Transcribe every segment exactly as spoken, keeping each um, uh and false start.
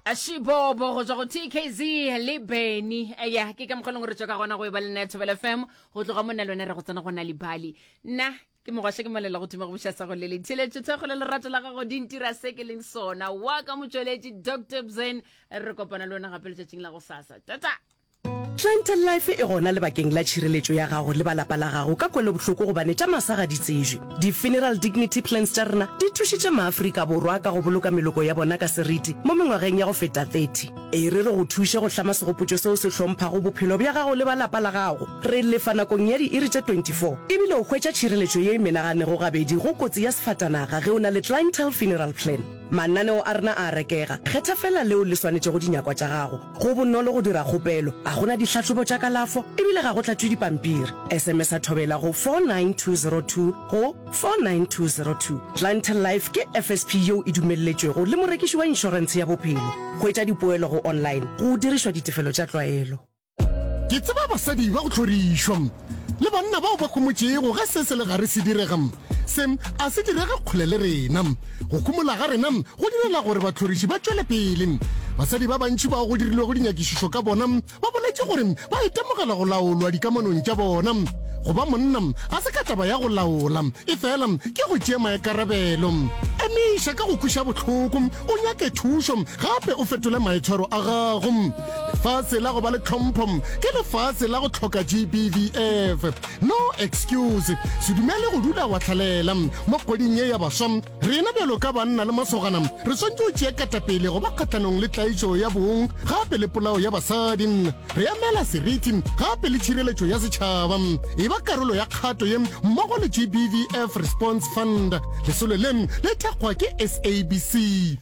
Šibobo go tswa go T K Z le Benny. Ya ke ka mokgwa leng gore tswa ka gona go e ba le nna Thobela F M go tloga mo nna le wena re go tsena go na libali. Nna ke mogwaša ke molela go thuma go buša sa go le letheletšo thekgo le lerato la gago di ntira se ke leng sona wa ka motšweletši Doctor Bzen. Re kopana le wena gape letšatšing la go sasa. Tata. Clientele Life e gona lebakeng la tšhireletšo ya gago le ba lapa la gago ka kwelobohloko gobane tša masa ga di tsejwe. Di-funeral dignity plans tša rena di thušitše maAfrika Borwa ka go boloka meloko ya bona ka seriti mo mengwageng ya go feta thirty. E re re go thuše go hlama segopotšo seo se hlomphago bophelo bja gago le ba lapa la gago. Re lefa nakong ya diiri tše twenty-four ebile o hwetša tšhireletšo ye e menaganego gabedi go kotsi ya sefatanaga ge o na le Clientele Funeral Plan. Mananeo a rena a rekega, kgetha fela leo le swanetšego dinyakwa tša gago. Go bonolo go dira kgopelo, ga gona dihlahlobo tša kalafo ebile ga go tlatšwe dipampiri. S M S a Thobela go four nine two zero two go four nine two zero two. Clientele Life ke F S P yeo e dumelletšwego le morekiši wa inšorentshe ya bophelo. Hwetša dipoelo go online go dirišwa ditefelo tša tlwaelo. Ke tseba basadi ba go hlorišwa le banna bao ba khomotšego ge se se le gare se direga. Se a se direge kgole le rena. Go khumola ga rena go direla gore bahloriši ba tšwele pele. Basadi ba bantši bao go dirilwego dinyakišišo ka bona ba boletše gore ba itemogela go laolwa dikamanong tša bona. Go ba monna ga se ka taba ya go laola, e fela ke go tšea maikarabelo. Emiša ka go kweša bohloko, o nyake thušo gape o fetole maitshwaro a gago. Lefase la go ba le tlhompho ke lefase la go hloka G B V F. No excuse. Se dumele go dula wa hlalela. Mo kgweding ye ya baswa, rena bjalo ka banna le masogana re swanetše go tšea ketapele go ba kgahlanong le tlaišo ya bong gape le polao ya basadi. Re emela seriti gape le tšhireletšo ya setšhaba. E ba karolo ya kgato ye mmogo le G B V F Response Fund. Lesolo le le thekgwa ke S A B C.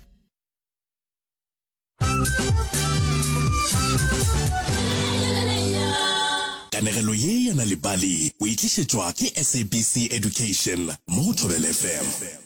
Kanegelo ye ya Nal'ibali o e tlišetšwa ke S A B C Education mo go Thobela F M.